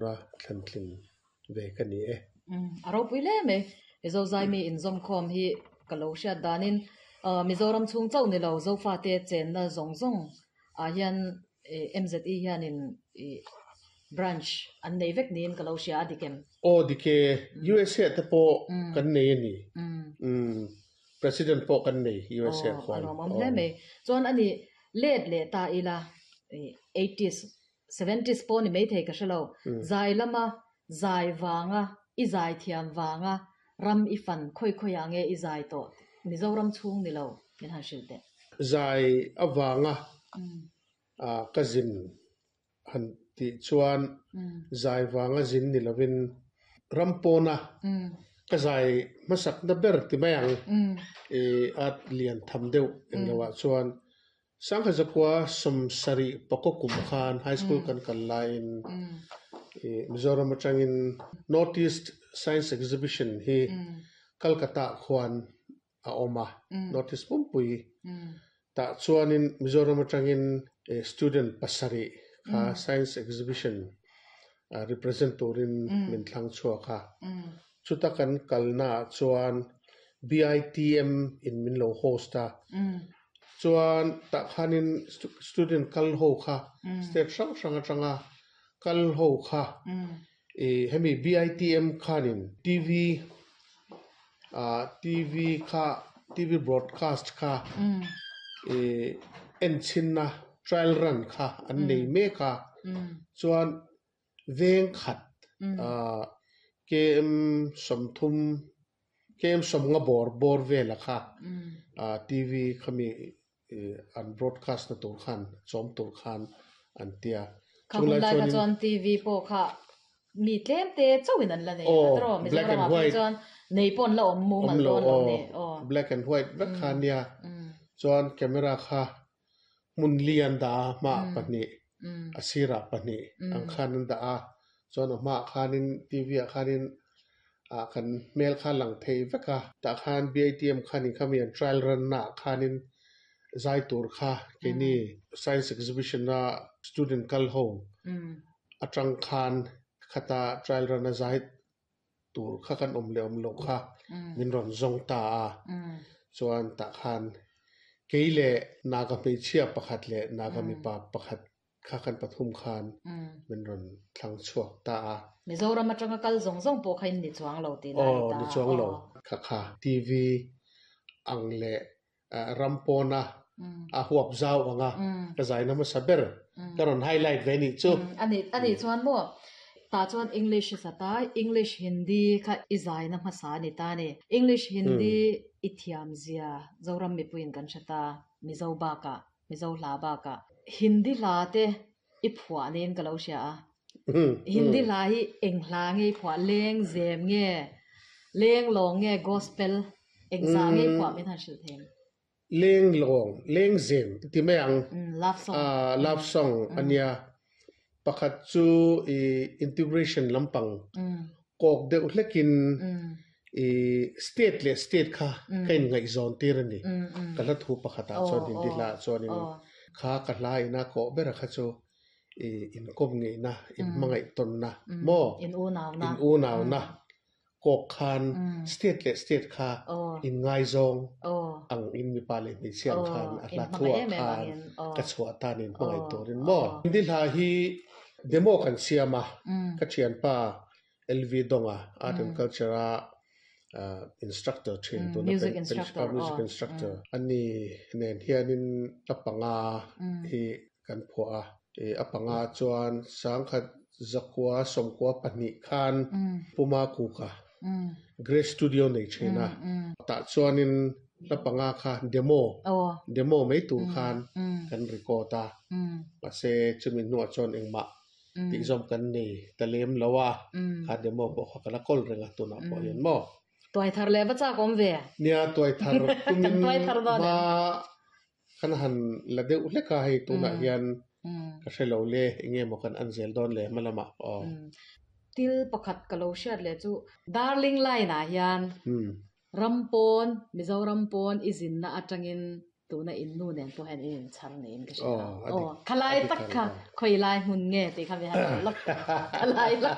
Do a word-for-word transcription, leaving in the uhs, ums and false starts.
tura thlan tlin ve ka ni e. A ropui hle mai. Mizo Zaimi inzawmkhawm hi ka lo hriat danin Mizoram chhung chauh ni lo Zofate chenna zawng zawng ah hian M Z E hianin branch an nei vek niin ka lo hria a, dik em? Aw, dik e. U S A te pawh kan nei a ni. President pawh kan nei U S A khuan. A lawmawm hle mai. Chuan ani let leh ta ila, eighties, seventies pawh ni maithei ka hrelo. Zai lama zai wanga i zai thiam wanga ram i fan khoi khoi a nge i zai tawh, Mizoram chhung ni lo, min han hrilh teh. Zai awanga a ka zin han ti chuan zai wanga zin ni lovin rampawna ka zai hmasak na ber ti mai ang e at lian tham deuh engloah chuan sangkhat zakua sawmsarih pakaw kum khan high school kan kal laiin Mizoram atangin North East Science Exhibition hi Calcutta khuan a awm a, North East pumpui. Tah chuanin Mizoram atangin student pasarih kha science exhibition represent turin min thlang chhuak a. Chuta kan kalna chuan B I T M in min lo host a. Chuan tah khanin student kal ho kha state hrang hrang atanga kal ho kha e hemi B I T M khanin T V a T V kha T V broadcast kha e en chinna trial run kha an nei mek a. Chuan veng khat a K M sawmthum, K M sawmnga bawr bawr vela kha a T V khami an broadcast na tur khan chawm tur khan an tia. Kha hun lai kha chuan T V pawh kha mi tlem te chauhin an la nei tro Black and white. Chuan nei pawn la awm mumal dawn lo ni aw. Black and white vek kha nia. Chuan camera kha hmun li an dah a, hma pahnih, a sirah pahnih ang khan an dah a. Chuan a hmaah khanin T V ah khanin a kan hmel kha lang thei vek a. Tah khan B I T M khanin khami an trial run na ah khanin zai tur kha keini science exhibition a student kal ho atang khan khata trial run a zai tur kha kan awm leh awm lo kha min rawn zawng ta a. Chuan tah khan kei leh Naga hmeichhia pakhat leh Naga mipa pakhat kha kan pathum khan min rawn thlang chhuak ta a. Mizoram atanga kal zawng zawng pawh kha in ni chuang lo tih na aw ni ta. Ni chuang lo. Kha kha T V ang leh rampawna a huap zau anga ka zai na hmasa ber ka rawn highlight ve nih chu. ani ani chuan maw ta chuan English sata English, Hindi kha i zai na hmasa ni ta ni. English, Hindi i thiam zia Zoram mipuiin kan hreta. Mizo baka Mizo hla baka Hindi hla te i phuah niin ka lo hria a. Hindi hla hi eng hla nge i phuah? Leng zem nge, leng lawng nge, gospel, eng za nge i phuah, min han hrilh them? Leng lawng, leng zem ti mai ang. Love song. Love song ania. Pakhat chu i integration lampang kawk deuh hlekin i state leh state kha ka in ngaihzawn tir ani ka hla thu pakhatah chuan. Hindi hla chuanin kha ka hla ina kawh bera kha chu i inkawm ngeihna, in hmangaih tawnna maw, in unaw na, in unaw na kawk khan state leh state kha in ngaizawng ang in mipa leh hmeichhia ang khan a hla thuah khan ka chhuah tan in hmangaih turin maw. Hindi hla hi demo kan siam a. Ka thianpa L V Donga, art and culture a instructor thin, tuna music instructor, music instructor ani nen hianin a panga hi kan phuah a. A panga chuan sangkhat zakua sawmkua pahnih khan Puma Kuka Grace Studio nei thina. Tah chuanin hla panga kha demo demo mai tur khan kan record a. Mahse chumi hnuah chuan engmah tih zawm kan nei ta lem lo a. Kha demo pawh kha ka la kawl renga tunah pawh hian maw. Tuai thar le va chak awm ve. Nia, tuai thar tumin tuai thar dawn. Ma kan han la deuh hleka hei tunah hian ka hrelo le, enge maw kan an zel dawn le hma lamah aw. Til pakhat ka lo hriat le chu Darling Line ah hian rampawn, Mizoram pawn i zinna atangin Tuna in nu nen pawh hian in inchhar niin ka hria. Aw, a dik. Aw, khalai A dik tak kha ang. khawi lai hmun nge tih kha mi han lawk. Khalai lak.